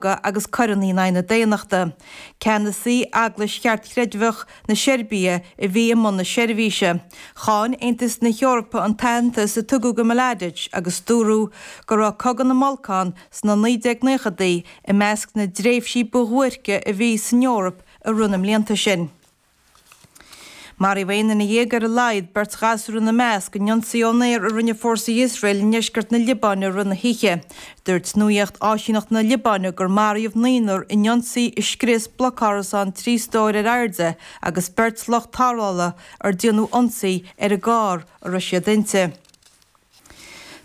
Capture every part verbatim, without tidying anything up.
agus coireanna in aghaidh na daonnachta. Ceannasaí Eaglais Cheartchreidmheach na Seirbia a bhí i mbun na seirbhíse. Cháin Aontas na hEorpa an t-aitheantas a tugadh do Mladic agus dúradh go raibh Cogadh na mBalcán sna naoi déag naochadaí i measc na dtréimhsí ba dhuairce a bhí san Eoraip i rith na mblianta sin. Maraíodh aon duine dhéag ar a laghad, beirt ghasúr ina measc, in ionsaí ón aer a rinne fórsaí Iosrael i ndeisceart na Liobáine i rith na hoíche. Dúirt nuacht áisíneacht na Liobáine gur maraíodh naonúr in ionsaí a scrios blocárasán trí stór ar airde agus beirt lucht tarrthála ar déanadh ionsaí ar an gcarr a raibh siad inti.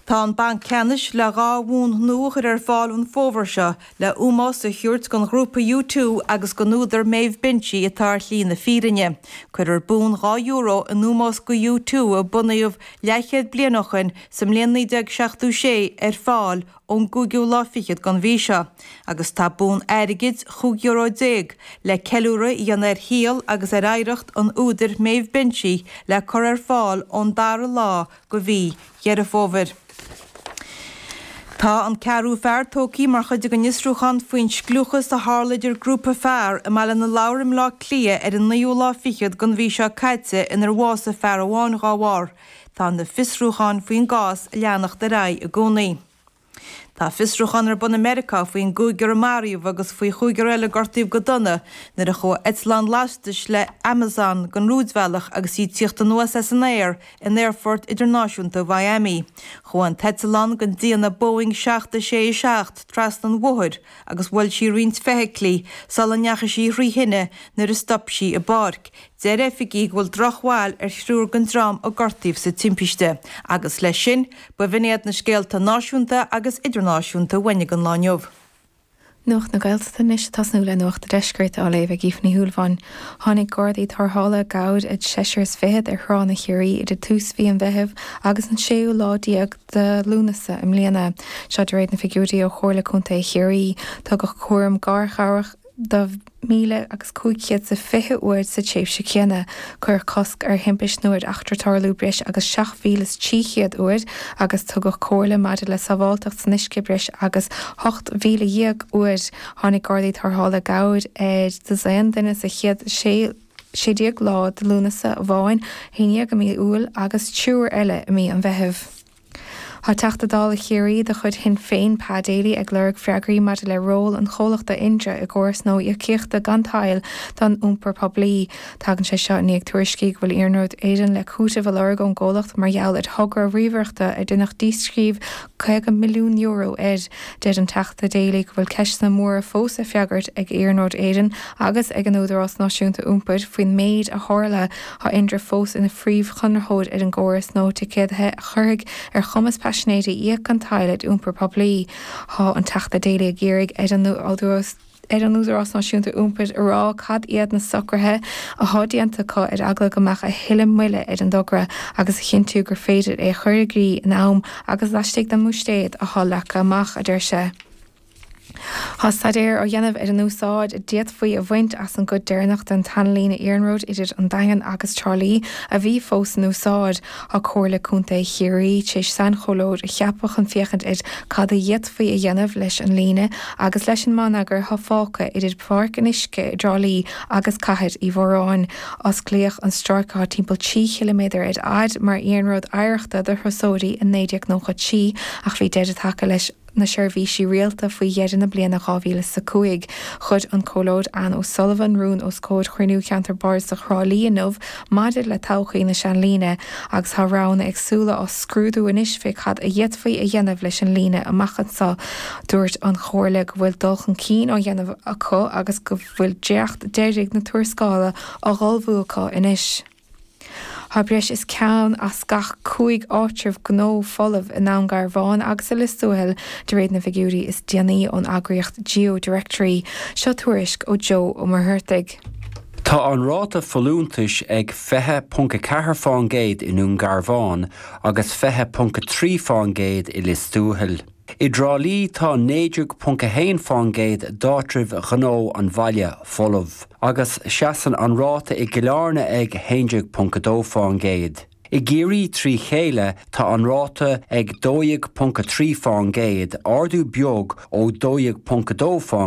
Tá an Banc Ceannais le dhá bhonn nua a chur ar fáil an fómhar seo le ómós a thabhairt don ghrúpa U two agus don údar Maeve Binchy atá ar shlí na fírinne. Cuirfear bonn dhá euro in ómós do U two a bunaíodh leathchéad bliain ó shin sa mbliain naoi déag seachtó sé ar fáil ón gcúigiú lá fichead den mhí seo agus tá bonn airgid chúig euro déag le ceiliúradh a dhéanamh ar shaol agus ar oidhreacht an údair Maeve Binchy le cur ar fáil ón dara lá de mhí Dheireadh Fómhair. Tá an ceathrú fear tógtha mar chuid den fhiosrúchán faoin scliúchas a tharla idir grúpa fear i mBaile na Lobhar i mBleá Cliath ar an naoú lá fichead den mhí seo caite inar bhásaigh fear amháin dá bharr. Tá na fiosrúcháin faoin gcás ag leanacht ar aghaidh i gcónaí. Tá fiosrúchán ar bun i Meiriceá faoin gcúigear a maraíodh agus faoi chúigear eile a gortaíodh go dona nuair a chuaigh eitleán lastais le Amazon den rúidbhealach agus í ag tíocht anuas as an aer in Aerfort Idirnáisiúnta Mhiami. Chuaigh an t-eitleán den déanamh Boeing seacht a sé a seacht trasna an bhóthair agus bhuail sí roinnt feithiclí sula ndeachaigh sí thrí thine nuair a stop sí i bpáirc. Deir oifigigh go bhfuil drochbhail ar thriúr den dream a gortaíodh sa timpiste. Agus leis sin, ba bh'in iad na scéalta náisiúnta agus idirnáisiúnta uainn ag an lá inniu. Nuacht na Gaeltachta anois ag tosnú le Nuacht an Deiscirt á léamh ag Aoife Ní Shúilleabháin. Tháinig Gardaí Tarrthála gabhar ag seisear is fichead ar thránna Chiarraí idir tús mhí an Mheithimh agus an séú lá déag de Lúnasa i mbliana. Seo de réir na figiúirí ó Chomhairle Contae Chiarraí. Tugadh cúram garchabhrach do mhíle agus cúig chéad is a fiche uair sa tréimhse chéanna. Cuireadh cosc ar thimpist nó ar eachtra tarlú breis agus seacht mhíle is trí chéad uair agus tugadh comhairle maidir le sábháilteacht san uisce breis agus ocht mhíle dhéag uair. Tháinig Gardaí Tarrthála i gcabhair ar dosaen duine sa chéad sé sé déag lá de Lúnasa amháin, haon déag i mí Iúil agus triúr eile i mí an Mheithimh. Tá Teachta Dála Chiarraí de chuid Shinn Féin, Pa Daly, ag lorg freagraí maidir le ról an chomhlachta Indra i gcóras nua íocaíochta gan tadhall don iompar poiblí. Tagann sé seo i ndiaidh tuairiscí go bhfuil Iarnród Éireann le cúiteamh a lorg ón gcomhlacht mar gheall ar thogra ríomhaireachta ar deineadh díscríobh caoga milliún euro air. Deir an Teachta Daly go bhfuil ceisteanna móra fós le freagairt ag Iarnród Éireann agus ag an Údarás Náisiúnta Iompair faoin méid a tharla. Tá Indra fós ina phríomhchonraitheoir ar an gcóras nua ticéadaithe a chuirfidh ar chumas paisinéirí íoc gan tadhall ar iompar poiblí. Tá an Teachta Daly ag iarraidh ar an Údarás ar an Údarás Náisiúnta Iompair a rá cad iad na socruithe atá déanta acu ar eagla go mbeadh a thuilleadh moille ar an dtogra agus a chinntiú gur féidir é a chur i gcrích in am agus laistigh den mbuiséad atá leagtha amach, a deir sé. Tá staidéar á dhéanamh ar an úsáid a d'fhéadfaí a bhaint as an gcuid deireanach den tseanlíne iarnróid idir an Daingean agus Trá Lí a bhí fós in úsáid. Tá Comhairle Contae Chiarraí tar éis sainchomhairleoir a cheapadh chun féachaint ar cad a d'fhéadfaí a dhéanamh leis an líne agus leis an mbonneagar atá fágtha idir Páirc an Uisce i dTrá Lí agus Cathair Uí Mhóráin. Osclaíodh an stráice atá timpeall trí chiliméadar ar fhad mar iarnród oidhreachta do thurasóirí in naoi déag nócha trí ach bhí deireadh tagtha leis na seirbhísí rialta faoi dheireadh na bliana dhá mhíle is a cúig. Chuir an Comhairleoir Anne O'Sullivan rún os comhair chruinniú Cheantar Bardasach Thrá Lí inniu maidir le todhchaí na seanlíne agus tá roghanna éagsúla á scrúdú anois fé cad a d'fhéadfaí a dhéanamh leis an líne amach anseo. Dúirt an Chomhairle go bhfuil dul chun cinn á dhéanamh acu agus go bhfuil dréacht deiridh na tuarascála á ullmhú acu anois. Tá breis is ceann as gach cúig áitreabh gnó folamh i nDún Garbhán agus i Lios Tuathail, de réir na bhfigiúirí is déanaí ón eagraíocht GeoDirectory. Seo tuairisc ó Joe Ó Muircheartaigh. Tá an ráta folúntais ag fiche ponc a ceathair fán gcéad i nDún Garbhán agus fiche ponc a trí fán gcéad i Lios Tuathail. I dTrá Lí tá naoi déag ponc a haon fán gcéad d'áitribh ghnó an bhaile folamh, agus seasann an ráta i gCill Airne ag haon déag ponc a dó fán gcéad. I gCiarraí trí chéile tá an ráta ag dó dhéag ponc a trí faoin gcéad, ardú beag ó dó dhéag ponc a dó faoin